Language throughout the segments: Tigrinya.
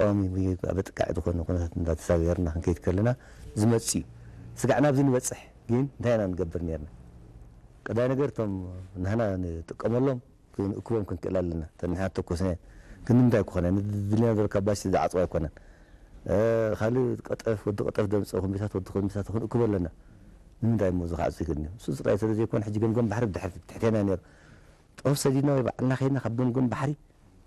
ቀዋሚ ወይ ኣብ ጥቃዕ ዝኾነ ኩነታት እንዳተሳገርና ክንከይድ ከለና ዝመጽእ እዩ። ስጋዕ ናብዚ ንበጽሕ ግን እንታይ ኢና ንገብር ነርና? ቀዳይ ነገር እቶም ንሕና ንጥቀመሎም ክንእክቦም ክንክእል ኣለና። እተን ንሕና ተኮስናየን ክንዲ ምንታይ ክኾነ ንድልና ዘሎ ካባሲቲ ዝዓጽዋ ኣይኮነን። እ፣ ካልእ ቀጠፍ፣ ወዲ ቀጠፍ ደምጸ፣ ኮምቢታት፣ ወዲ ኮምቢታት ክንእክቦ ኣለና። ንምንታይ እሞ እዚ ክዓጽ ይኽእል እዩ? እሱ ጥራይ ስለ ዘይኮነ ሕጂ ገምገም ባሕሪ ብድሕሪ ትሕቴና ነይሩ። ጦፍ ሰዲድና ወይ ባዕልና ከይድና ካብ ገምገም ባሕሪ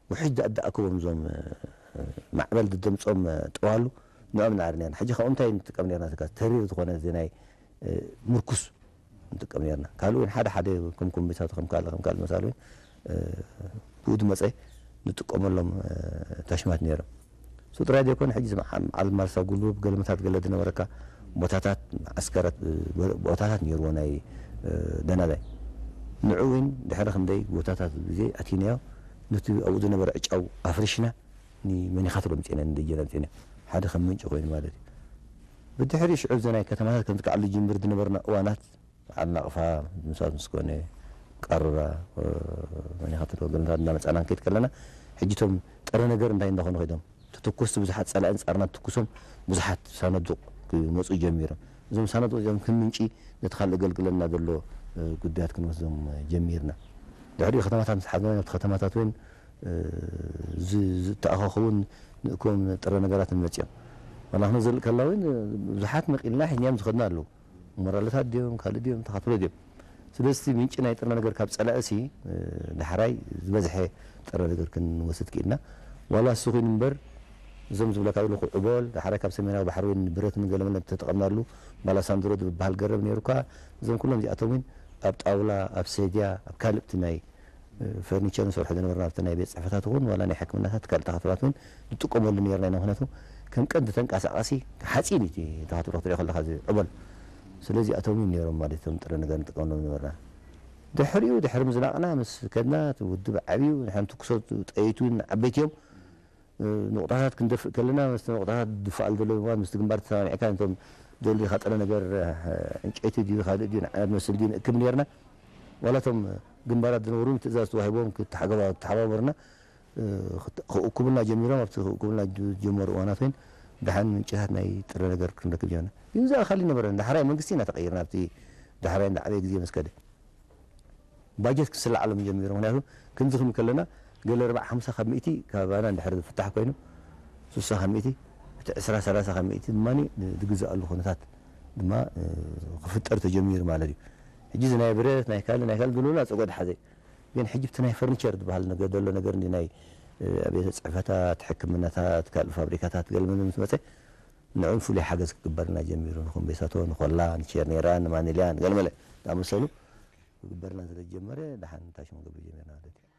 ውሕጅ ዳ-፣ ዳኣከቦም እዞም፣ እ፣ ማዕበል ድደምጾም፣ እ፣ ጠዋሉ ንዕኦም ንዓሪ ነርና። ሕጂ ካብኦም እንታይ ንጥቀም ነርና? ተካ ተሪር ዝኾነ እዚ ናይ፣ እ፣ ምርኩስ ንጥቀም ነርና። ካልእ እውን ሓደ ሓደ ከም ኮምቢታት ከም ካልእ ከም ካልእ መሳሉ እውን፣ እ፣ ብኡ ድመጸ ንጥቀመሎም፣ እ፣ ታሽማት ነይሮም። እሱ ጥራይ ዘይኮነ ሕጂ እዚ መዓ-፣ መዓል ማርሳ ጉልቡብ ገለመታት ገለ ድነበረካ ቦታታት ዓስከራት፣ እ፣ ቦታታት ነይርዎ ናይ፣ እ፣ ደናዳይ። ንዑ እውን ድሕሪ ክንደይ ቦታታት ግዜ ኣቲናዮ ነቲ ኣብኡ ዝነበረ ዕጫው ኣፍሪሽና ንመኒኻት ኣምጺእና ንደጀን ኣምጺእና ሓደ ከም ምንጪ ኮይኑ ማለት እዩ። ብድሕሪ ሽዑ እዚ ናይ ከተማታት ከም ዝከዓሉ ጅምር ዝነበርና እዋናት ዓዲ ናቕፋ፣ ምሳት ምስ ኮነ፣ ቀሩራ፣ እ፣ መኒኻት ወገንታት እናመጻና ንከይድ ከለና ሕጂ እቶም ጥረ ነገር እንታይ እንዳኾኑ ከይዶም ተተኮስቲ ብዙሓት ጸላእን ጻርና ትኩሶም ብዙሓት ሳነዱቕ ክመጹ ጀሚሮም። እዞም ሳነዱቕ እዚኦም ከም ምንጪ ነቲ ካልእ ኣገልግለና ዘሎ፣ እ፣ ጉዳያት ክንወስዶም ጀሚርና። ድሕሪኡ ከተማታት ምስ ሓዝና ናብቲ ከተማታት እውን፣ እ፣ ዝ-፣ ዝተኣኻኸቡን ንእኮም ጥረ ነገራትን መጺኦም። ዋላ ክንዘልእ ከላ እውን ብዙሓት መቒልና ሒዝናዮም ዝኸድና ኣለዉ። ሞራልታት ድዮም፣ ካልእ ድዮም፣ ተኻትሎ ድዮም። ስለዚ እቲ ምንጪ ናይ ጥረ ነገር ካብ ጸላእሲ፣ እ፣ ዳሕራይ ዝበዝሐ ጥረ ነገር ክንወስድ ክኢልና። ዋላ እሱ ኮይኑ እምበር፣ እዞም ዝብለካ ዘለኹ ዕቦል፣ ዳሕራይ ካብ ሰሜናዊ ባሕሪ እውን ብረት ንገለመለ ተጠቐምናሉ፣ ባላሳንድሮ ዝበሃል ገረብ ነይሩ እኳ፣ እዞም ኩሎም እዚኣቶም እውን ኣብ ጣውላ፣ ኣብ ሰድያ፣ ኣብ ካልእ እቲ ናይ፣ እ፣ ፈርኒቸር ንሰርሖ ዝነበርና ኣብቲ ናይ ቤት ጽሕፈታት እውን፣ ዋላ ናይ ሕክምናታት ካልእ ተኻትላት እውን ንጥቀመሉ ነይርና ኢና። ምኽንያቱ ከም ቀንዲ ተንቀሳቓሲ ሓፂን እዩ እቲ ተኻትሎ ክትሪኦ ከለኻ እዚ ዕቦል። ስለዚ ኣቶም እዮም ነይሮም ማለት እቶም ጥረ ነገር ንጥቀመሎም ነበርና። ድሕሪኡ ድሕሪ ምዝናቕና ምስ ከድና እቲ ውድብ ዓብዩ ንሓንቲ ክሶ ጠይቱ ዓበይቲ እዮም። እ፣ ንቑጣታት ክንደፍእ ከለና ምስቲ ንቑጣታት ድፋኣል ዘሎ ብምባል ምስቲ ግንባር ተሰማሚዕካ ነቶም ደሊኻ ጥረ ነገር፣ እ፣ ዕንጨይቲ ድዩ ካልእ ድዩ ንዓና ዝመስል ድዩ ንእክብ ነርና። ዋላ እቶም ግንባራት ዝነበሩ ትእዛዝ ተዋሂቦም ክተሓገባ-፣ ክተሓባበሩና፣ እ፣ ክት-፣ ክእኩብልና ጀሚሮም። ኣብቲ ክእኩብልና ዝጀመሩ እዋናት እውን ደሓን ምንጭታት ናይ ጥረ ነገር ክንረክብ ጀመርና። ግን እዚ ኣኻሊ ነበረን። ዳሕራይ መንግስቲ ኢና ተቐይርና ኣብቲ ዳሕራይ እንዳዓበየ ግዜ ምስ ከደ። ባጀት ክስለዓሎም ጀሚሩ። ምኽንያቱ ክንዚ ክንብል ከለና ገለ ኣርባዓ ሓምሳ ካብ ሚእቲ ካባና እንድሕር ዝፍታሕ ኮይኑ፣ ስሳ ካብ ሚእቲ፣ እቲ ዕስራ ሰላሳ ካብ ሚእቲ ድማ ዝግዝኣሉ ኩነታት ድማ፣ እ፣ ክፍጠር ተጀሚሩ ማለት እዩ። ሕጂ እዚ ናይ ብረት፣ ናይ ካልእ፣ ናይ ካልእ ዝብሉና ጸገድ ሓዘ። ግን ሕጂ እቲ ናይ ፈርኒቸር ዝበሃል ነገር ዘሎ ነገር እንዲ ናይ፣ እ፣ ኣብያተ ጽሕፈታት፣ ሕክምናታት፣ ካልእ ፋብሪካታት ገለ መለ ምስ መጸ ንዕኡ ፍሉይ ሓገዝ ክግበርልና ጀሚሩ። ንኮምቤሳቶ፣ ንኮላ፣ ንቼርኔራ፣ ንማኒልያ፣ ንገለ መለ ዝኣመሰሉ ክግበርልና ስለ ዝጀመረ ደሓን ታሽሙ ክገብር ጀሚርና ማለት እዩ።